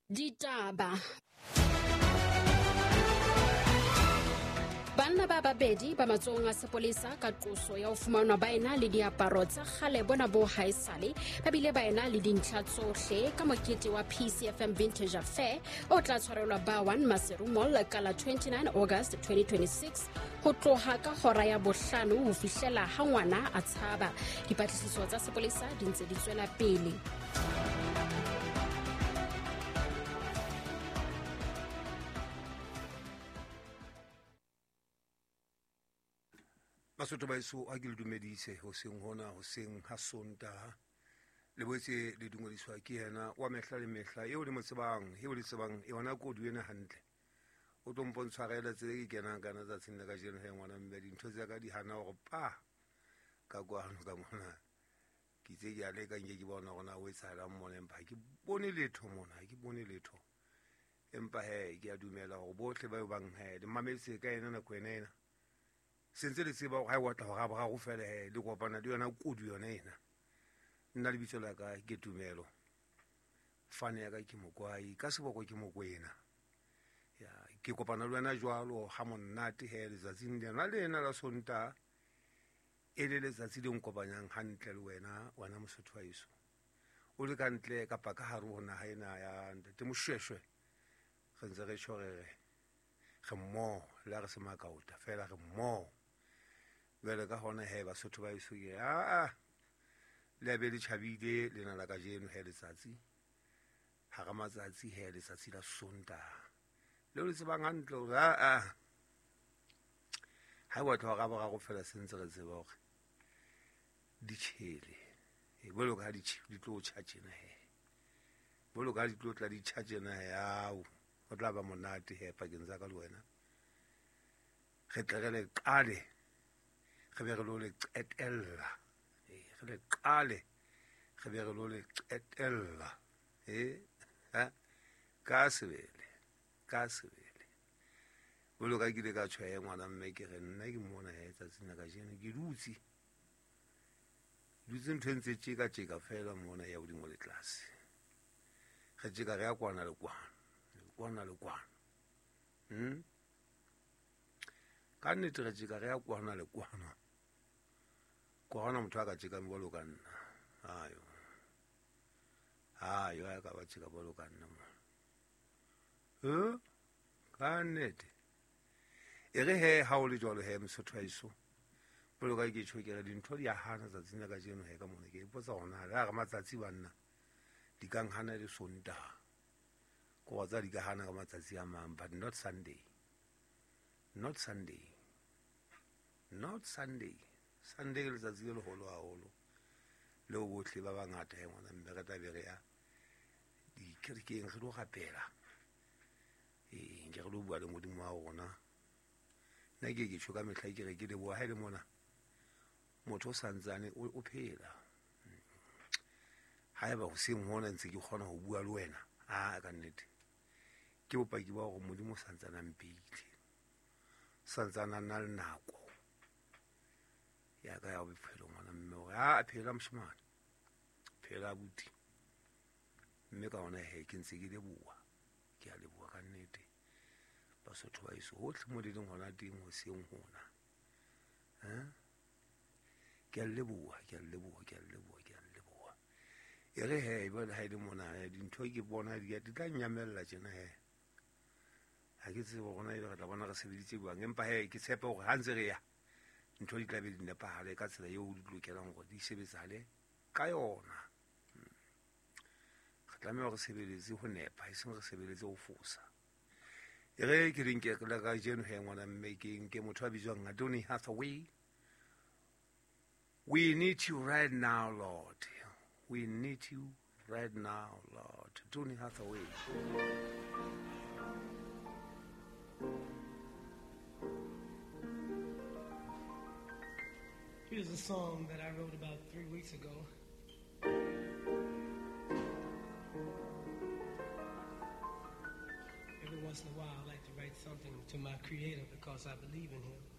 Ditaba. Banna ba babedi ba matsohong a sepolesa ka qoso ya ho fumanwa ba ena le diaparo tsa kgale bona bo haesale ba bile ba ena le dintlha tsohle ka mokete wa PCFM Vintage Affair o tla tshwarelwa ba 1 Maseru Mall ka la 29 August 2026 ho tloha ka hora ya bohlano ho fihlela ha ngwana a tshaba. Dipatlisiso tsa sepolesa di ntse di tswela pele. Basotho ba eso a ke le dumedise hoseng hona, hoseng ha Sontaha. Le boetse le dumediswa ke yena wa mehla le mehla eo le mo tsebang, eo le tsebang yona kodu ena hantle. O tlo mpontshwarela tsela e ke kenang kana tsatsing la kajeno he ngwana mme dintho tsa ka di hana hore pa ka kwano ka mona. Ke itse ke a leka nke ke bona hore na o etsahalang mona, empa ha ke bone letho mona, ha ke bone letho. Empa he ke a dumela hore bohle ba bang he le mametse ka ena nako ena ena. Se ntse le tseba hore ha e otla hore a boraro fela he le kopana le yona kodu yona ena. Nna lebitso la ka ke Tumelo. Fane ya ka ke Mokwai, ka seboko ke Mokwena. Ya, ke kopana le wena jwalo ha monate he letsatsing lena lena la Sontaha e le letsatsi le nkopanyang hantle le wena, wena Mosotho wa heso. O le ka ntle kapa ka hare ho naha ena ya Ntate Moshweshwe. Re ntse re tjho re re re mmoho, le ha re se makaota fela re mmoho. Jwale ka hona he Basotho ba heso ke a le a be le tjhabile lena la kajeno he letsatsi hara matsatsi he letsatsi la Sontaha leo le tsebang hantle hore a ha e batla hore a boraro fela se ntse re tseba hore di tjhele. E bolo ka di di tlo tjha tjena he, bolo ka di tlo tla di tjha tjena he, ao ho tla ba monate he pakeng tsa ka le wena. Re tle re le qale, re be re lo le qetella. Re le qale, re be re lo le qetella. Ha ka sebele, ka sebele. Bolo ka kile ka tjho ngwana mme ke re nna ke mona he tsatsing la kajeno ke dutse. Dutse ntho e ntse tjeka tjeka fela mona ya hodimo le tlase. Re tjeka re ya kwana le kwana, kwana le kwana. Ka nnete re tjeka re ya kwana le kwana. Kwana motho a ka tjekang jwalo ka nna. Ayo. Ayo a ka ba tjeka jwalo ka nna mo. Ka nnete. E re he ha o le jwalo he Mosotho wa heso. Jwalo ka ke tjho ke re dintho di a hana tsatsing la kajeno he ka mona ke ipotsa hore na le hara matsatsi banna di ka nhana le Sontaha. Ko wa tsa di ka hana ka matsatsi a mang, but not Sunday. Not Sunday. Not Sunday. Sunday ke letsatsi le leholo haholo leo bohle ba bangata he ngwana mme re tla be re ya dikerekeng re lo rapela. Nke re lo bua le Modimo wa rona. Nna ke ke tjho ka mehla ke re ke leboha ha e le mona motho o santsane o phela. Haeba hoseng hona ntse ke kgona ho bua le wena, a ka nnete ke bopaki ba hore Modimo o santsane a mpeile, santsane a na le nako ya ka ya bophelo ngwana mme hore a phela moshemane, phela abuti. Mme ka hona he ke ntse ke leboha, ke a leboha ka nnete Basotho ba heso hohle mo le leng hona teng hoseng hona. Ke a leboha, ke a leboha, ke a leboha, ke a leboha. E re he jwale ha e le mona dintho ke bona di tla nyamella tjena he. Ha ke tsebe hore na ebe re tla bona re sebeditse jwang, empa he ke tshepe hore ha ntse re ya ntho di tla be di nepahale ka tsela eo di lokelang hore di sebetsahale ka yona. Re tlameha hore re sebeletse ho nepa, e seng re sebeletse ho fosa. E re ke le nke la kajeno he ngwana mme ke nke motho a bitswang Donny Hathaway. We need you right now, Lord. We need you right now, Lord. Donny Hathaway. Here's a song that I wrote about 3 weeks ago. Every once in a while, I like to write something to my Creator because I believe in Him.